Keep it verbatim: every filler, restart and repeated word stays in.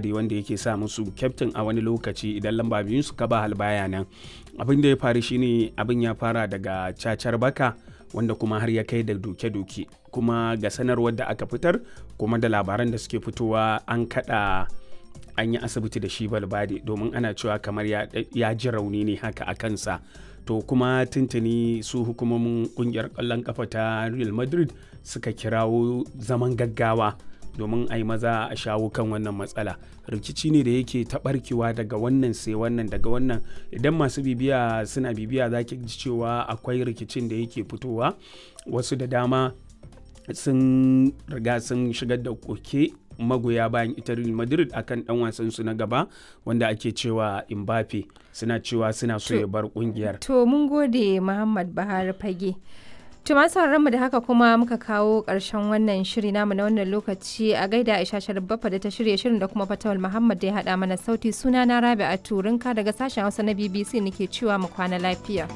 Wanda yake sa musu kyaftin a wani lokaci idan lamba biyun su ka ba baya nan. Abin da ya faru shine abin ya fara daga cacar baka, wanda kuma har ya kai da doke-doke. Kuma ga sanarwar da aka fitar kuma da labaran da suke fitowa, an kada an yi asibiti da shi Valverde domin ana cewa kamar ya, ya ji rauni ne haka a kansa. To kuma tuntuni su hukumomin kungiyar kwallon kafa ta Real Madrid suka kirawo zaman gaggawa domin a yi maza a shawo kan wannan matsala. Rikici ne da yake taɓarkewa daga wannan sai wannan, daga wannan. Idan masu bibiya suna bibiya, za ki ji cewa akwai rikicin da yake fitowa. Wasu da dama sun riga sun shigar da koke, magoya bayan ita Real Madrid, akan dan wasan su na gaba wanda ake cewa Mbappe, suna cewa suna so ya bar kungiyar. To mun gode, Muhammad Bahar Fage. To masu mu da haka kuma muka kawo ƙarshen wannan shiri namu na wannan lokaci. A gaida Aisha Sharif Baffa da ta shirya shirin da kuma Fatawal Muhammad da ya haɗa mana sauti. Suna na Rabi'a Turinka daga sashen Hausa na B B C nake cewa mu kwana lafiya.